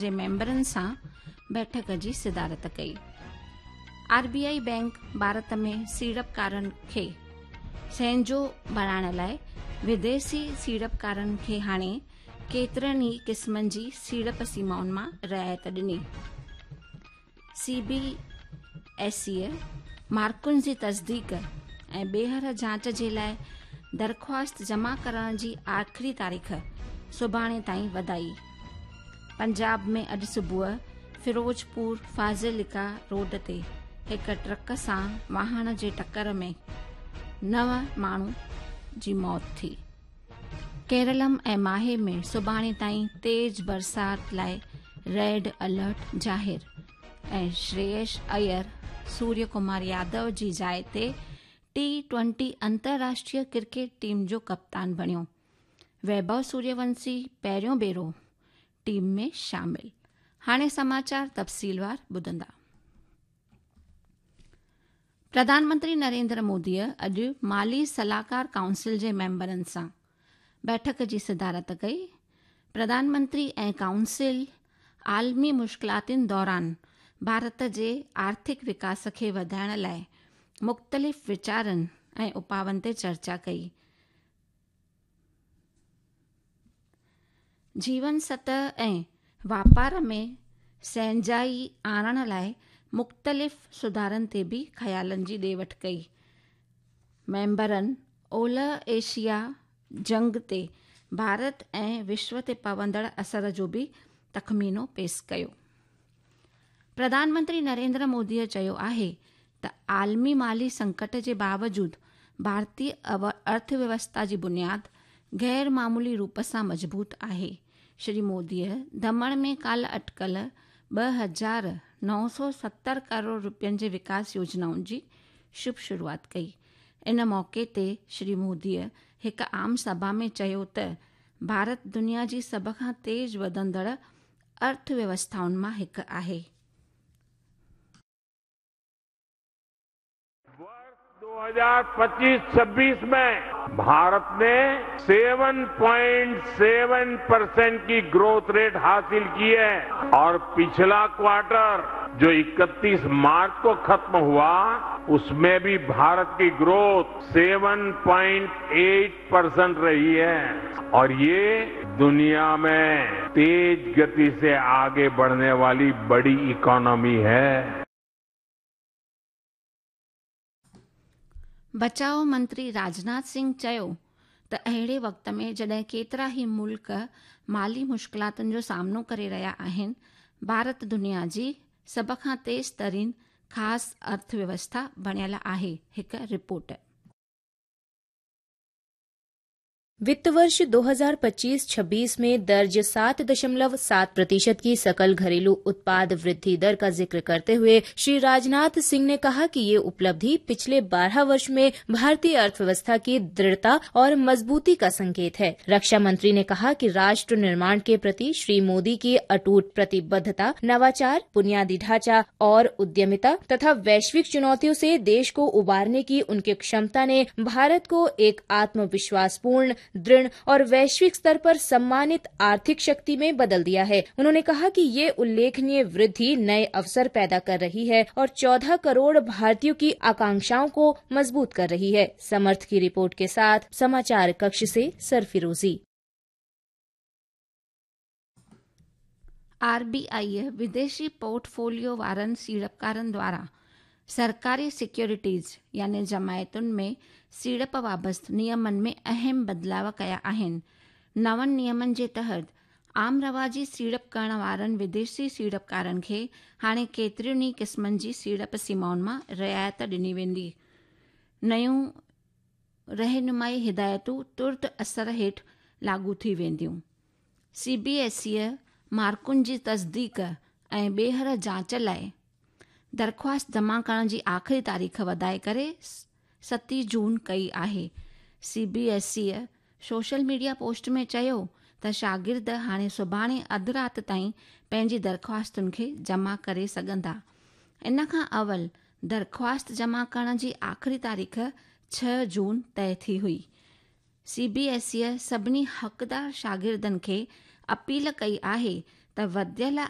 جي ميمبرن سان بيٺڪ جي صدارت ڪئي. R B I bank Bharat ۾ سيڙپڪارن کي سهنجو بڻائڻ لاء وديسي سيڙپڪارن کي هاڻي ڪيترن ئي قسمن جي سيڙپ سيمائن مان رعايت ڏني. سي بي ايس اي مارڪن جي تصديق ۽ ٻيهر جاچ جي لاء درخواست جمع ڪرڻ جي آخري تاريخ سڀاڻي تائين وڌائي. پنجاب ۾ اڄ صبح فيروزپور فاضلڪا روڊ تي هڪ ٽرڪ سان واهڻ جي ٽڪر ۾ نو ماڻهو جي موت ٿي. ڪيرلم ۽ ماهي ۾ سڀاڻي تائين تيز برسات لاء ريڊ الرٽ ظاهر ۽ شريش ايئر سوريه ڪمار يادو جي جاء تي ٽي ٽوئنٽي انترراشٽريه ڪرڪيٽ ٽيم جو ڪپتان بڻيو. ويڀو سوريونشي پهريون ڀيرو ٽيم ۾ شامل. هاڻي سماچار تفصيلوار ٻڌندا. پرڌان منتري نريندر مودي اڄ مالي صلاحڪار ڪائونسل جي ميمبرن سان بيٺڪ جي صدارت ڪئي. پرڌان منتري ۽ ڪائونسل عالمي مشڪلاتن دوران ڀارت جي آرٿڪ وڪاس کي وڌائڻ لاء مختلف ويچارن ۽ اپاون تي چرچا ڪئي. جيون سطح ۽ واپار ۾ سهنجائي آڻڻ لاء مختلف سڌارن تي به خيالن جي ڏي وٺ ڪئي. ميمبرن اولهه ايشيا جنگ تي ڀارت ۽ وشو تي پوندڙ اثر جو به تخمينو پيش ڪيو. پرڌان منتري نريندر مودي چيو آهي ته عالمي مالي سنڪٽ جي باوجود ڀارتي ارٿويوسٿا جي بنياد غير معمولي روپ سان مضبوط آهي. شري مودي دمڻ ۾ ڪالهه اٽڪل 2970 ڪروڙ رپين جي وڪاس يوجنائن جي شڀ شروعات ڪئي. ان موقعي تي شري مودي هڪ عام سڀا ۾ چيو ته ڀارت دنيا جي سڀ کان تيز وڌندڙ ارٿويوسٿائن مان هڪ آهي. वर्ष 2025-26 में भारत ने 7.7 परसेंट की ग्रोथ रेट हासिल की है और पिछला क्वार्टर जो 31 मार्च को खत्म हुआ उसमें भी भारत की ग्रोथ 7.8 परसेंट रही है और ये दुनिया में तेज गति से आगे बढ़ने वाली बड़ी इकोनॉमी है। بچاء منتري راجناٿ سنگهه چيو ته اهڙي وقت ۾ جڏهن ڪيترا ئي ملڪ مالي مشڪلاتن جو سامنو ڪري رهيا آهن، ڀارت دنيا جي سڀ کان تيز ترين خاص ارٿويوسٿا بڻيل آهي، هڪ رپورٽ. वित्त वर्ष 2025-26 में दर्ज 7.7% की सकल घरेलू उत्पाद वृद्धि दर का जिक्र करते हुए श्री राजनाथ सिंह ने कहा कि ये उपलब्धि पिछले 12 वर्ष में भारतीय अर्थव्यवस्था की दृढ़ता और मजबूती का संकेत है। रक्षा मंत्री ने कहा कि राष्ट्र निर्माण के प्रति श्री मोदी की अटूट प्रतिबद्धता, नवाचार, बुनियादी ढांचा और उद्यमिता तथा वैश्विक चुनौतियों से देश को उबारने की उनकी क्षमता ने भारत को एक आत्मविश्वासपूर्ण, दृढ़ और वैश्विक स्तर पर सम्मानित आर्थिक शक्ति में बदल दिया है। उन्होंने कहा कि ये उल्लेखनीय वृद्धि नए अवसर पैदा कर रही है और 14 करोड़ भारतीयों की आकांक्षाओं को मजबूत कर रही है। समर्थ की रिपोर्ट के साथ समाचार कक्ष से सरफिरोजी। आर बी I विदेशी पोर्टफोलियो वारनि सीड़पकारनि द्वारा सरकारी सिक्योरिटीज़ يعني جماعتن ۾ سيڙپ بابت نيمن ۾ اهم بدلاء ڪيا آهن. نون نيمن جي تحت عام رواجي سيڙپ ڪرڻ وارن وديشي سيڙپڪارن کي هاڻي ڪيترين ئي قسمن جي سيڙپ سيمائن مان رعايت ڏني ويندي. نيون رهنمائي هدايتون ترت اثر هيٺ لاڳو ٿي وينديون. سي بي ايس اي مارڪن جي تصديق ۽ ٻيهر جاچ لاء درخواست جمع ڪرڻ جي آخري تاريخ وڌائي ڪري 7 جون ڪئي آهي. C B S E social media post ۾ چيو ته شاگرد هاڻي سڀاڻي اڌ رات تائين پنهنجي درخواستن کي جمع ڪري سگهندا. ان کان اول درخواست جمع ڪرڻ جي آخري تاريخ 6 جون طئي ٿي هئي. سي بي ايس اي سڀني حقدار شاگردن کي اپيل ڪئي آهي त वधियल